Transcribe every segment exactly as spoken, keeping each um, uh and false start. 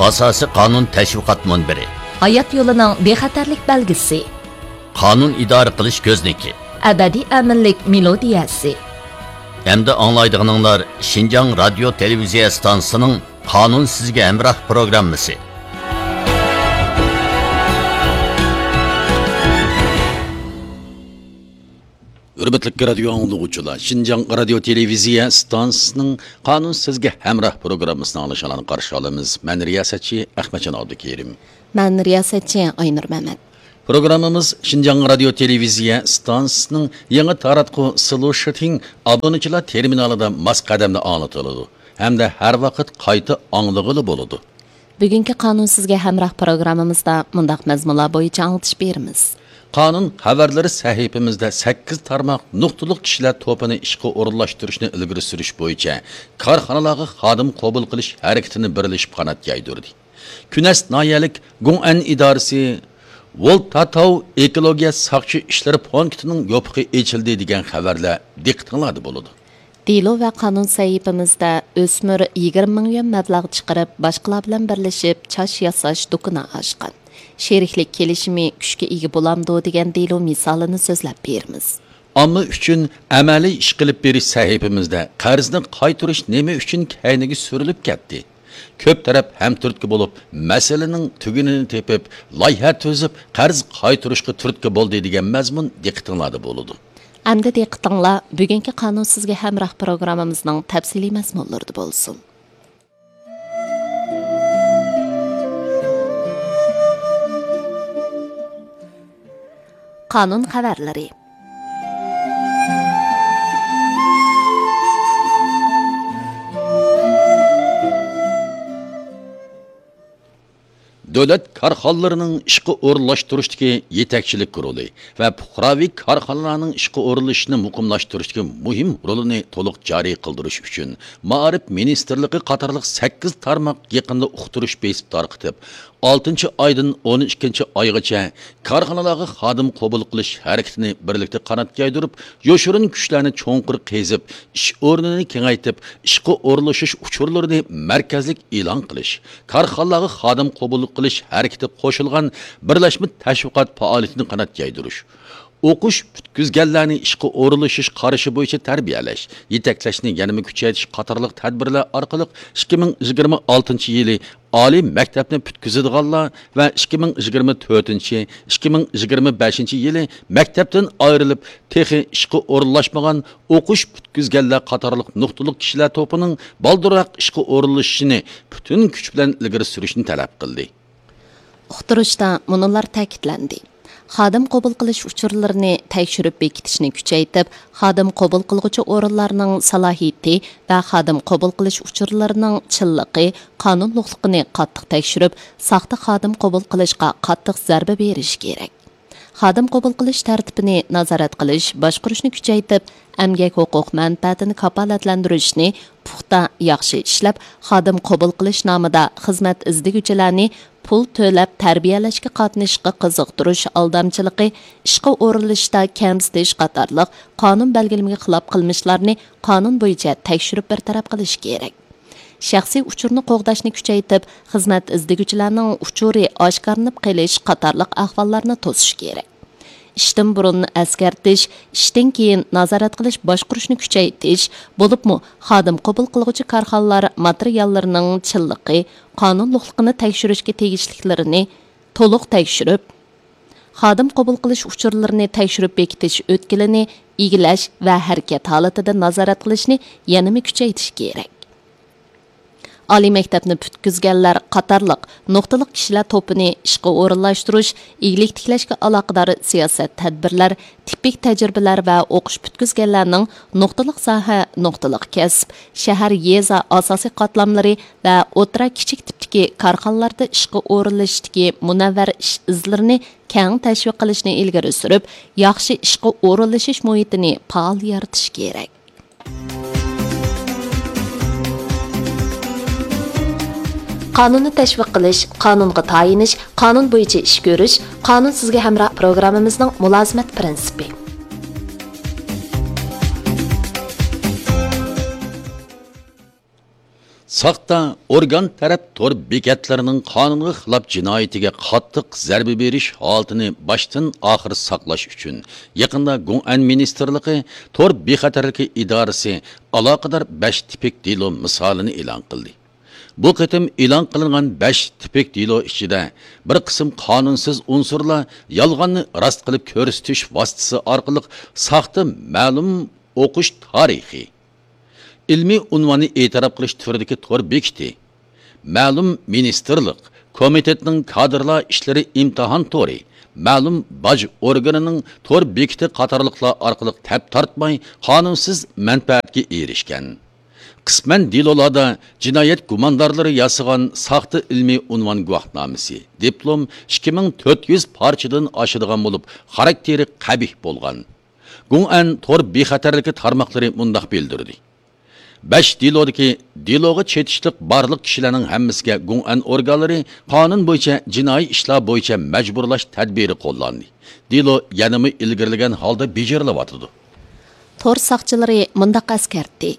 ئاساسىي قانۇن تەشۋىقات مۇنبىرى. ھايات يولىنىڭ بىخەتەرلىك بەلگىسى. قانۇن ئىدارە قىلىش كۆزنىكى. ئەبەدىي ئەمىنلىك مېلودىيەسى. ئەمدى ئاڭلايدىغىنىڭلار شىنجاڭ رادىيو تېلېۋىزىيە ئىستانسىسىنىڭ قانۇن سىزگە ھەمراھ پروگراممىسى. ھۆرمەتلىك رادىيو ئاڭلىغۇچىلار، شىنجاڭ رادىيو تېلېۋىزىيە ئىستانسىسىنىڭ قانۇن سىزگە ھەمراھ پروگراممىسىنى ئاڭلىشىڭلارنى قارشى ئالىمىز. مەن رىياسەتچى ئەخمەتجان ئابدۇكېرىم. مەن رىياسەتچى ئاينۇر مەمەت. پروگراممىمىز شىنجاڭ رادىيو تېلېۋىزىيە ئىستانسىسىنىڭ يېڭى تاراتقۇ سلۇشىتىڭ ئابۇنىچىلار تېرمىنالىدا ماس قەدەمدە ئاڭلىتىلىدۇ ھەمدە ھەر ۋاقىت قايتا ئاڭلىغىلى بولىدۇ. بۈگۈنكى قانۇن سىزگە ھەمراھ پروگراممىمىزدا مۇنداق مەزمۇنلار بويىچە ئاڭلىتىش بېرىمىز. قانۇن خەۋەرلىرى سەھىپىمىزدە سەككىز تارماق نۇقتىلىق كىشىلەر توپىنى ئىشقا ئورۇنلاشتۇرۇشنى ئىلگىرى سۈرۈش بويىچە كارخانىلارغا خادىم قوبۇل قىلىش ھەرىكىتىنى بىرلىشىپ قانات يايدۇردى. كۈنەس ناھىيەلىك گۇڭئەن ئىدارىسى ۋولتاتاۋ ئېكولوگىيە ساقچى ئىشلىرى پونكىتىنىڭ يوپۇقى ئېچىلدى دېگەن خەۋەرلەر دىققىتىڭلاردا بولىدۇ. دېلو ۋە قانۇن سەھىپىمىزدە ئۆسمۈر يىگىرمە مىڭ يۈەن مەبلەغ چىقىرىپ، باشقىلار بىلەن بىرلىشىپ چاچ ياساش دۇكىنى ئاچقان. شېرىكلىك كېلىشىمى كۈچكە ئىگە بولامدۇ دېگەن دېلو مىسالىنى سۆزلەپ بېرىمىز. ئامما ئۈچۈن ئەمەلىي ئىش قىلىپ بېرىش سەھىپىمىزدە قەرزنى قايتۇرۇش نېمە ئۈچۈن كەينىگە سۈرۈلۈپ كەتتى؟ كۆپ تەرەپ ھەمتۈرتكە بولۇپ، مەسىلىنىڭ تۈگۈنىنى تېپىپ، لايىھە تۈزۈپ، قەرز قايتۇرۇشقا تۈرتكە بولدى دېگەن مەزمۇن دىققىتىڭلاردا بولىدۇ. ئەمدى دىققىتىڭلار بۈگۈنكى قانۇن سىزگە ھەمراھ پروگراممىمىزنىڭ تەپسىلىي مەزمۇنلىرىدا بولسۇن. قانۇن خەۋەرلىرى. دۆلەت كارخانىلىرىنىڭ ئىشقا ئورۇنلاشتۇرۇشتىكى يېتەكچىلىك رولى ۋە پۇقراۋى كارخانىلارنىڭ ئىشقا ئورۇنلىشىشىنى مۇقىملاشتۇرۇشتىكى مۇھىم رولىنى تولۇق جارى قىلدۇرۇش ئۈچۈن، مائارىپ مىنىستىرلىقى قاتارلىق سەككىز تارماق يېقىندا ئۇقتۇرۇش بېسىپ تارقىتىپ، ئالتىنچى ئايدىن ئون ئىككىنچى ئايغىچە كارخانىلارغا خادىم قوبۇل قىلىش ھەرىكىتىنى بىرلىكتە قانات يايدۇرۇپ، يوشۇرۇن كۈچلەرنى چوڭقۇر قېزىپ، ئىش ئورنىنى كېڭەيتىپ، ئىشقا ئورۇنلىشىش ئۇچۇرلىرىنى مەركەزلىك ئېلان قىلىش، كارخانىلارغا خادىم قوبۇل قىلىش ھەرىكىتىگە قوشۇلغان بىرلەشمە تەشۋىقات پائالىيىتىنى قانات يايدۇرۇش، ئوقۇش پۈتكۈزگەنلەرنى ئىشقا ئورۇنلىشىش قارىشى بويىچە تەربىيەلەش، يېتەكلەشنى يەنىمۇ كۈچەيتىش قاتارلىق تەدبىرلەر ئارقىلىق ئىككى مىڭ يىگىرمە ئالتىنچى يىلى ئالىي مەكتەپنى پۈتكۈزىدىغانلار ۋە ئىككى مىڭ يىگىرمە تۆتىنچى، ئىككى مىڭ يىگىرمە بەشىنچى يىلى مەكتەپتىن ئايرىلىپ، تېخى ئىشقا ئورۇنلاشمىغان ئوقۇش پۈتكۈزگەنلەر قاتارلىق نۇقتىلىق كىشىلەر توپىنىڭ بالدۇرراق ئىشقا ئورۇنلىشىشىنى پۈتۈن كۈچ بىلەن ئىلگىرى سۈرۈشنى تەلەپ قىلدى. ئۇقتۇرۇشتا مۇنۇلار تەكىتلەندى: خادىم قوبۇل قىلىش ئۇچۇرلىرىنى تەكشۈرۈپ بېكىتىشنى كۈچەيتىپ، خادىم قوبۇل قىلغۇچى ئورۇنلارنىڭ سالاھىيىتى ۋە خادىم قوبۇل قىلىش ئۇچۇرلىرىنىڭ چىنلىقى، قانۇنلۇقلۇقىنى قاتتىق تەكشۈرۈپ، ساختا خادىم قوبۇل قىلىشقا قاتتىق زەربە بېرىش كېرەك. خادىم قوبۇل قىلىش تەرتىپىنى نازارەت قىلىش، باشقۇرۇشنى كۈچەيتىپ، ئەمگەك ھوقۇق مەنپەئەتىنى كاپالەتلەندۈرۈشنى پۇختا، ياخشى ئىشلەپ، خادىم قوبۇل قىلىش نامىدا خىزمەت ئىزدىگۈچىلەرنى پۇل تۆلەپ تەربىيەلەشكە قاتنىشىشقا قىزىقتۇرۇش ئالدامچىلىقى، ئىشقا ئورۇنلىشىشتا كەمسىتىش قاتارلىق قانۇن بەلگىلىمىگە خىلاپ قىلمىشلارنى قانۇن بويىچە تەكشۈرۈپ بىر تەرەپ قىلىش كېرەك. شەخسىي ئۇچۇرنى قوغداشنى كۈچەيتىپ، خىزمەت ئىزدىگۈچىلەرنىڭ ئۇچۇرى ئاشكارىلىنىپ قېلىش قاتارلىق ئەھۋاللارنى توسۇش كېرەك. ئىشتىن بۇرۇن ئەسكەرتىش، ئىشتىن كېيىن نازارەت قىلىش باشقۇرۇشنى كۈچەيتىش، بولۇپمۇ خادىم قوبۇل قىلغۇچى كارخانىلار ماتېرىياللىرىنىڭ چىنلىقى، قانۇنلۇقلۇقىنى تەكشۈرۈشكە تېگىشلىكلىرىنى تولۇق تەكشۈرۈپ، خادىم قوبۇل قىلىش ئۇچۇرلىرىنى تەكشۈرۈپ بېكىتىش ئۆتكىلىنى ئىگىلەش ۋە ھەرىكەت ھالىتىدە نازارەت قىلىشنى يەنىمۇ كۈچەيتىش كېرەك. ئالىي مەكتەپنى پۈتكۈزگەنلەر قاتارلىق نۇقتىلىق كىشىلەر توپىنى ئىشقا ئورۇنلاشتۇرۇش، ئىگىلىك تىكلەشكە ئالاقىدار سىياسەت، تەدبىرلەر، تىپىك تەجرىبىلەر ۋە ئوقۇش پۈتكۈزگەنلەرنىڭ نۇقتىلىق ساھە، نۇقتىلىق كەسىپ، شەھەر، يېزا ئاساسىي قاتلاملىرى ۋە ئوتتۇرا، كىچىك تىپتىكى كارخانىلاردا ئىشقا ئورۇنلىشىشتىكى مۇنەۋۋەر ئىش ئىزلىرىنى كەڭ تەشۋىق قىلىشنى ئىلگىرى سۈرۈپ، ياخشى ئىشقا ئورۇنلىشىش مۇھىتىنى پائال يارىتىش كېرەك. قانۇننى تەشۋىق قىلىش، قانۇنغا تايىنىش، قانۇن بويىچە ئىش كۆرۈش، قانۇن سىزگە ھەمراھ پروگراممىمىزنىڭ مۇلازىمەت پىرىنسىپى. ساختا ئورگان تەرەپ تور بېكەتلىرىنىڭ قانۇنغا خىلاپ جىنايىتىگە قاتتىق زەربە بېرىش ھالىتىنى باشتىن ئاخىر ساقلاش ئۈچۈن، يېقىندا گۇڭئەن مىنىستىرلىقى تور بىخەتەرلىكى ئىدارىسى ئالاقىدار بەش تىپىك دېلو مىسالىنى ئېلان قىلدى. بۇ قېتىم ئېلان قىلىنغان بەش تىپىك دېلو ئىچىدە بىر قىسىم قانۇنسىز ئۇنسۇرلار يالغاننى راست قىلىپ كۆرسىتىش ۋاسىتىسى ئارقىلىق ساختا مەلۇم ئوقۇش تارىخى، ئىلمىي ئۇنۋاننى ئېتىراپ قىلىش تۈرىدىكى تور بېكىتى، مەلۇم مىنىستىرلىق، كومىتېتنىڭ كادىرلار ئىشلىرى ئىمتىھان تورى، مەلۇم باج ئورگىنىنىڭ تور بېكىتى قاتارلىقلار ئارقىلىق تەپ تارتماي قانۇنسىز مەنپەئەتكە ئېرىشكەن. قىسمەن دېلولاردا جىنايەت گۇماندارلىرى ياسىغان ساختا ئىلمىي ئۇنۋان گۇۋاھنامىسى، دىپلوم، ئىككى مىڭ تۆت يۈز پارچىدىن ئاشىدىغان بولۇپ، خاراكتېرى قەبىھ بولغان. گۇڭئەن تور بىخەتەرلىكى تارماقلىرى مۇنداق بىلدۈردى: بەش دېلودىكى دېلوغا چېتىشلىق بارلىق كىشىلەرنىڭ ھەممىسىگە گۇڭئەن ئورگانلىرى قانۇن بويىچە جىنايى ئىشلار بويىچە مەجبۇرلاش تەدبىرى قوللاندى. دېلو يەنىمۇ ئىلگىرىلىگەن ھالدا بېجىرىلىۋاتىدۇ. تور ساقچىلىرى مۇنداق ئەسكەرتتى: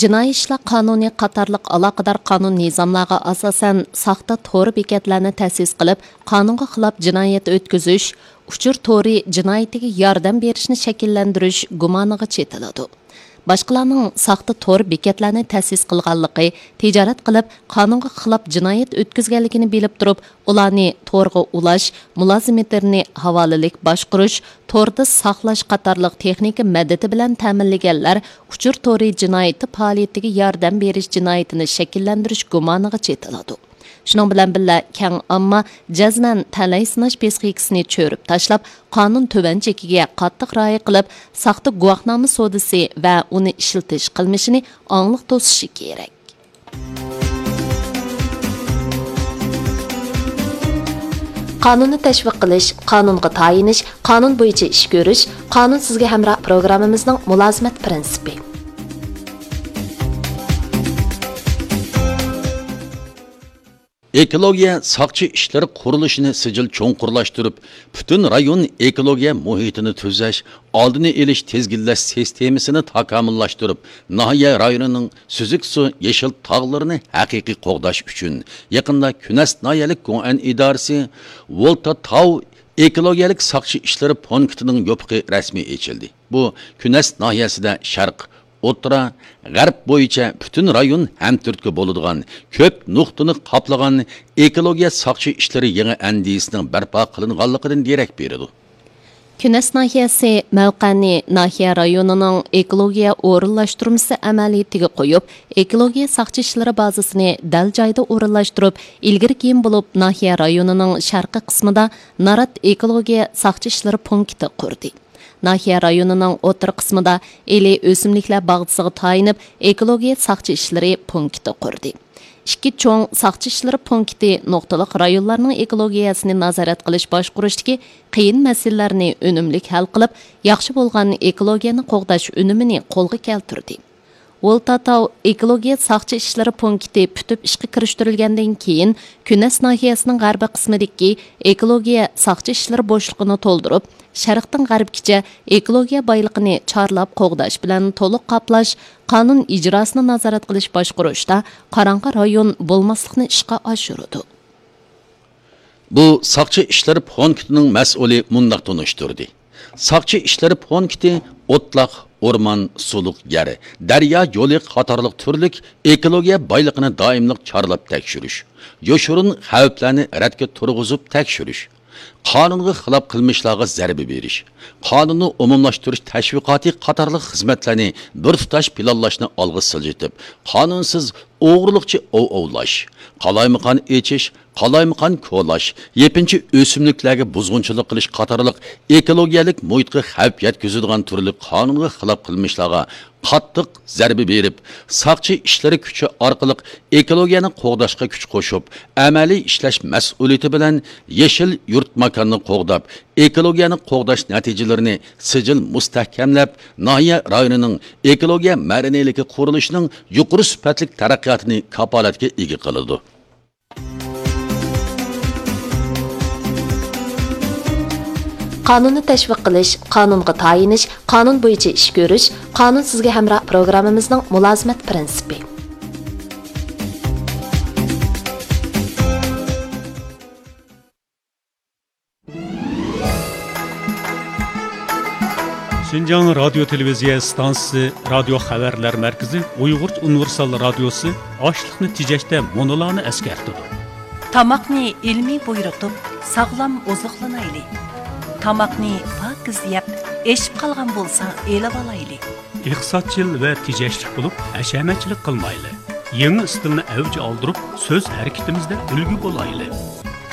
جىنايى ئىشلار قانۇنى قاتارلىق ئالاقىدار قانۇن نىزاملارغا ئاساسەن، ساختا تور بېكەتلەرنى تەسىس قىلىپ، قانۇنغا خىلاپ جىنايەت ئۆتكۈزۈش، ئۇچۇر تورى جىنايىتىگە ياردەم بېرىشنى شەكىللەندۈرۈش گۇمانىغا چېتىلىدۇ. باشقىلارنىڭ ساختا تور بېكەتلەرنى تەسىس قىلغانلىقى، تىجارەت قىلىپ، قانۇنغا خىلاپ جىنايەت ئۆتكۈزگەنلىكىنى بىلىپ تۇرۇپ، ئۇلارنى تورغا ئۇلاش، مۇلازىمېتىرنى ھاۋالىلىك باشقۇرۇش، توردا ساقلاش قاتارلىق تېخنىكا مەدىتى بىلەن تەمىنلىگەنلەر ئۇچۇر تورى جىنايىتى پائالىيىتىگە ياردەم بېرىش جىنايىتىنى شەكىللەندۈرۈش گۇمانىغا چېتىلىدۇ. شۇنىڭ بىلەن بىللە، كەڭ ئامما جەزمەن تەلەي سىناش پىسخىكىسىنى چۆرۈپ تاشلاپ، قانۇن تۆۋەن چېكىگە قاتتىق رىئايە قىلىپ، ساختا گۇۋاھنامە سودىسى ۋە ئۇنى ئىشلىتىش قىلمىشىنى ئاڭلىق توسۇشى كېرەك. قانۇننى تەشۋىق قىلىش، قانۇنغا تايىنىش، قانۇن بويىچە ئىش كۆرۈش، قانۇن سىزگە ھەمراھ پروگراممىمىزنىڭ مۇلازىمەت پىرىنسىپى. ئېكولوگىيە ساقچى ئىشلىرى قۇرۇلۇشىنى سىجىل چوڭقۇرلاشتۇرۇپ، پۈتۈن رايون ئېكولوگىيە مۇھىتىنى تۈزەش، ئالدىنى ئېلىش، تىزگىنلەش سىستېمىسىنى تاكامۇللاشتۇرۇپ، ناھىيە رايونىنىڭ سۈزۈك سۇ، يېشىل تاغلىرىنى ھەقىقىي قوغداش ئۈچۈن، يېقىندا كۈنەس ناھىيەلىك گۇڭئەن ئىدارىسى ۋولتا تاۋ ئېكولوگىيەلىك ساقچى ئىشلىرى پونكىتىنىڭ يوپۇقى رەسمىي ئېچىلدى. بۇ كۈنەس ناھىيەسىدە شەرق، ئوتتۇرا، غەرب بويىچە پۈتۈن رايون ھەمتۈرتكە بولىدىغان كۆپ نۇقتىنى قاپلىغان ئېكولوگىيە ساقچى ئىشلىرى يېڭى ئەندىزىسىنىڭ بەرپا قىلىنغانلىقىدىن دېرەك بېرىدۇ. كۈنەس ناھىيەسى مەۋقەنى ناھىيە رايونىنىڭ ئېكولوگىيە ئورۇنلاشتۇرمىسى ئەمەلىيىتىگە قويۇپ، ئېكولوگىيە ساقچى ئىشلىرى بازىسىنى دەل جايدا ئورۇنلاشتۇرۇپ، ئىلگىرى كېيىن بولۇپ ناھىيە رايونىنىڭ شەرقىي قىسمىدا نارات ئېكولوگىيە ساقچى ئىشلىرى پونكىتى قۇردى. ناھىيە رايونىنىڭ ئوتتۇرا قىسمىدا ئىلى ئۆسۈملۈكلەر باغچىسىغا تايىنىپ، ئېكولوگىيە ساقچى ئىشلىرى پونكىتى قۇردى. ئىككى چوڭ ساقچى ئىشلىرى پونكىتى نۇقتىلىق رايونلارنىڭ ئېكولوگىيەسىنى نازارەت قىلىش باشقۇرۇشتىكى قىيىن مەسىلىلەرنى ئۈنۈملۈك ھەل قىلىپ، ياخشى بولغان ئېكولوگىيەنى قوغداش ئۈنۈمىنى قولغا كەلتۈردى. ۋولتا تاۋ ئېكولوگىيە ساقچى ئىشلىرى پونكىتى پۈتۈپ ئىشقا كىرىشتۈرۈلگەندىن كېيىن، كۈنەس ناھىيەسىنىڭ غەربىي قىسمىدىكى ئېكولوگىيە ساقچى ئىشلىرى بوشلۇقىنى تولدۇرۇپ، شەرقتىن غەربكىچە ئېكولوگىيە بايلىقىنى چارلاپ قوغداش بىلەن تولۇق قاپلاش، قانۇن ئىجراسىنى نازارەت قىلىش باشقۇرۇشتا قاراڭغۇ رايون بولماسلىقنى ئىشقا ئاشۇرىدۇ. بۇ ساقچى ئىشلىرى پونكىتىنىڭ مەسئۇلى مۇنداق تونۇشتۇردى: ساقچى ئىشلىرى پونكىتى ئوتلاق، ئورمان، سۇلۇق يەر، دەريا يولى قاتارلىق تۈرلۈك ئېكولوگىيە بايلىقىنى دائىملىق چارلاپ تەكشۈرۈش، يوشۇرۇن خەۋپلەرنى رەتكە تۇرغۇزۇپ تەكشۈرۈش، قانۇنغا خىلاپ قىلمىشلارغا زەربە بېرىش، قانۇننى ئومۇملاشتۇرۇش تەشۋىقاتى قاتارلىق خىزمەتلەرنى بىر تۇتاش پىلانلاشنى ئالغا سىلجىتىپ، قانۇنسىز ئوغرىلىقچە ئوۋ ئوۋلاش، قالايمىقان ئېچىش، قالايمىقان كولاش، يېپىنچا ئۆسۈملۈكلەرگە بۇزغۇنچىلىق قىلىش قاتارلىق ئېكولوگىيەلىك مۇھىتقا خەۋپ يەتكۈزىدىغان تۈرلۈك قانۇنغا خىلاپ قىلمىشلارغا قاتتىق زەربە بېرىپ، ساقچى ئىشلىرى كۈچى ئارقىلىق ئېكولوگىيەنى قوغداشقا كۈچ قوشۇپ، ئەمەلىي ئىشلەش مەسئۇلىيىتى بىلەن يېشىل يۇرت ماكاننى قوغداپ، ئېكولوگىيەنى قوغداش نەتىجىلىرىنى سىجىل مۇستەھكەملەپ، ناھىيە رايونىنىڭ ئېكولوگىيە مەدەنىيلىكى قۇرۇلۇشىنىڭ يۇقىرى سۈپەتلىك تەرەققىياتىنى كاپالەتكە ئىگە قىلىدۇ. قانۇننى تەشۋىق قىلىش، قانۇنغا تايىنىش، قانۇن بويىچە ئىش كۆرۈش، قانۇن سىزگە ھەمراھ پروگراممىمىزنىڭ مۇلازىمەت پىرىنسىپى. شىنجاڭ رادىيو تېلېۋىزىيە ئىستانسىسى رادىيو خەۋەرلەر مەركىزى ئۇيغۇرچە ئۇنىۋېرسال رادىيوسى ئاشلىقنى تېجەشتە مۇنۇلارنى ئەسكەرتىدۇ. تاماقنى ئىلمىي بۇيرۇتۇپ، ساغلام ئوزۇقلىنايلى. تاماقنى پاكىز يەپ، ئېشىپ قالغان بولسا ئېلىۋالايلى. ئىقتىسادچىل ۋە تېجەشلىك بولۇپ، ھەشەمەتچىلىك قىلمايلى. يېڭى ئىستىلنى ئەۋج ئالدۇرۇپ، سۆز ھەرىكىتىمىزدە ئۈلگە بولايلى.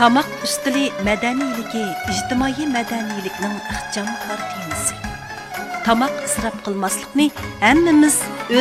تاماق ئۈستىلى مەدەنىيلىكى ئىجتىمائىي مەدەنىيلىكنىڭ ئىخچام كارتىنىسى. تاماق ئىسراپ قىلماسلىقنى ھەممىمىز